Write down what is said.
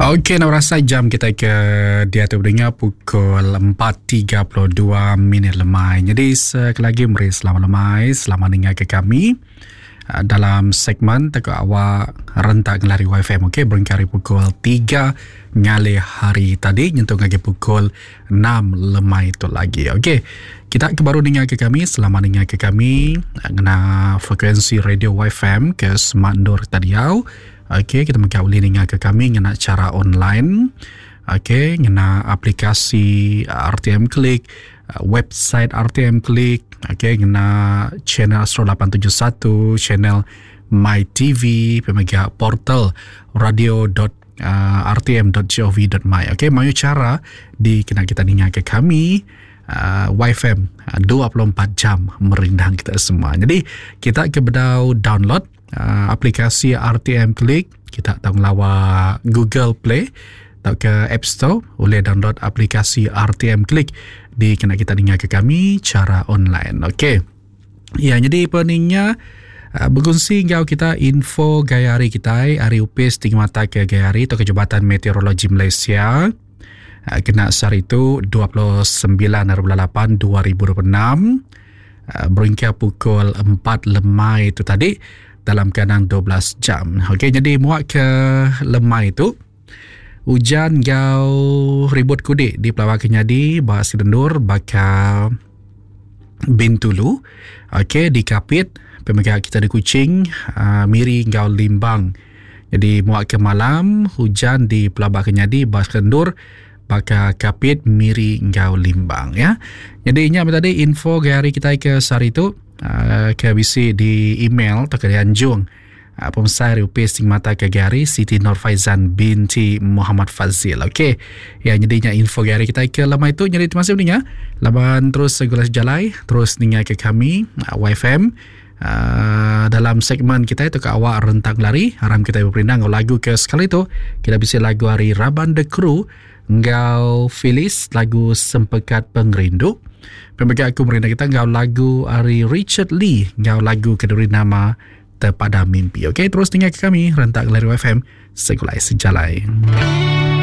Okey, nak rasa jam kita ke diatu beringa pukul 4.32 minit lemai. Jadi sekali lagi meri selamat lemai, selamat ninga ke kami ah, dalam segmen teko awak rentak ngelari YFM. Okey, berengkah hari pukul 3 ngalih hari tadi nyentuk lagi pukul 6 lemai tu lagi. Okey, kita ke baru ninga ke kami, selamat ninga ke kami ah, ngena frekuensi radio YFM ke Smart Nur tadi au. Okey, kita mega ulih ninga ke kami ngena chara online. Okey, ngena aplikasi RTM Click, website RTM Click, okey ngena channel Astro 871, channel My TV, pemega portal radio.rtm.gov.my. Okey, mayuh chara dikena kita ninga ke kami uh, YFM 24 jam merindang kita semua. Jadi, kita ke bedau download uh, aplikasi RTM Click kita tau ngelawa Google Play atau ke App Store boleh download aplikasi RTM Click di kena kita dengar ke kami cara online. Okey. Ya, jadi peningnya uh, berkongsi enggau kita info gaya hari kita hari upis tinggi mata ke gaya hari atau ke Jabatan Meteorologi Malaysia. Uh, kena sehari itu 29 hari 8 2026 uh, beringkah pukul 4 lemai itu tadi dalam kandang 12 jam. Okey, jadi muak ke lemai itu hujan gau ribut kudik di Pelawak Kenyadi, Bahasa Dendur, bakal Bintulu. Okey, di Kapit, pemegang kita di Kuching, uh, Miri gau Limbang. Jadi muak ke malam hujan di Pelabak Kenyadi, Bahasa Dendur, baka Kapit, Miri enggau Limbang ya. Jadi nya tadi info ke hari kita ke sehari tu uh, ke bisi di email atau ke dianjung uh, pemesai Upis Sing Mata ke hari Siti Nur Faizan binti Muhammad Fazil. Okey. Ya jadi nya info ke hari kita ke lama itu jadi terima kasih mendengar. Laban terus segala sejalai terus ninga ke kami uh, YFM Uh, dalam segmen kita itu ke awak rentang lari haram kita berperindang lagu ke sekali tu kita bisa lagu hari Raban The Crew enggau Phyllis lagu Sempekat Pengerindu pemegang aku merindang kita enggau lagu hari Richard Lee enggau lagu keduri nama Terpadam Mimpi. Okey, terus tinggal ke kami Rentak Lari FM Segulai Sejalai.